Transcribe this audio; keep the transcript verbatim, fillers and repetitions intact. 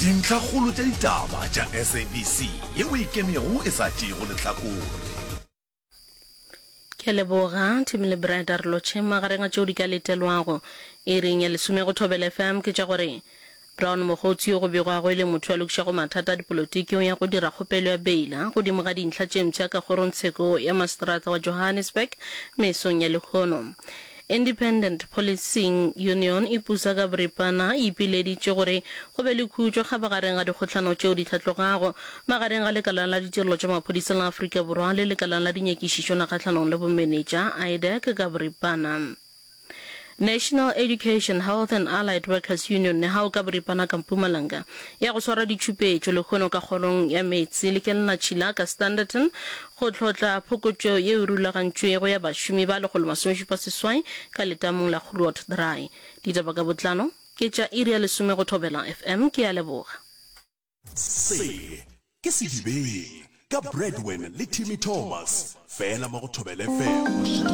Dintlhakgolo tša ditaba tša S A B C yeo e kemego e sa tšeego lehlakore. Ke a leboga, Timmy le Brad a re lotšhe. Magareng a tšeo di ka letelwago iring ya lesome go Thobela F M ke tša gore Brown Mogotsi yo go begwago e le motho yo a lokišago mathata a dipolotiki o ya go dira kgopelo ya beila godimo ga dintlha tše mpsha ka kgorongtsheko ya maseterata wa Johannesburg mesong ya lehono. Independent Policing Union e pusa ka boripana e ipileditše gore go be le khutšo kgabagareng ga dikgohlano tšeo di hlatlogago magareng ga Lekala la Ditirelo tša Maphodisa la Afrika Borwa le Lekala la Dinyakišišo la Kgahlanong le Bomenetša, IDAC, ka boripana. National Education, Health and Allied Workers Union, NEHAWU, ka boripana ka Mpumalanga ya go swara ditšhupetšo lehono ka kgorong ya meetse le kelenatšhila ka Standerton go hlotla phokotšo yeo e rulagantšwego ya bašomi ba lekgolo masomešupa seswai ka letamong la Groot Draai. Ditaba ka botlalo ke tša iri ya lesome go Thobela F M. Ke a leboga. Se ke Sedibeng ka Bradwin le Timmy Thomas fela mo go Thobela F M.